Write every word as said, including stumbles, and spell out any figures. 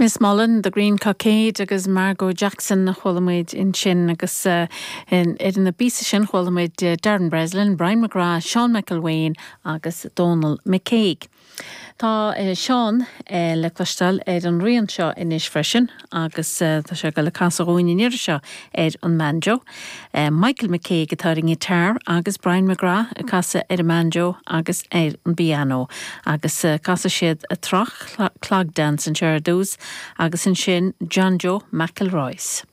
Miss Mullen, The Green Cockade agus Margot Jackson a chuala muid ansin agus uh, ar na bpíosa sin chuala muid uh, Darren Breslin, Brian McGrath, Sean McElwain agus Donal McCague. Tá uh, Sean uh, le cloisteáil ar an rian seo anois freisin agus uh, tá sé le casadh dúinn an seo ar an banjo. Uh, Michael McCague atá ar an guitar agus Brian McGrath ag casadh ar an banjo agus ar an piano agus uh, casfaidh siad a Trach Clog Dance anseo ar dtús agus ansin John Joe McElroy's.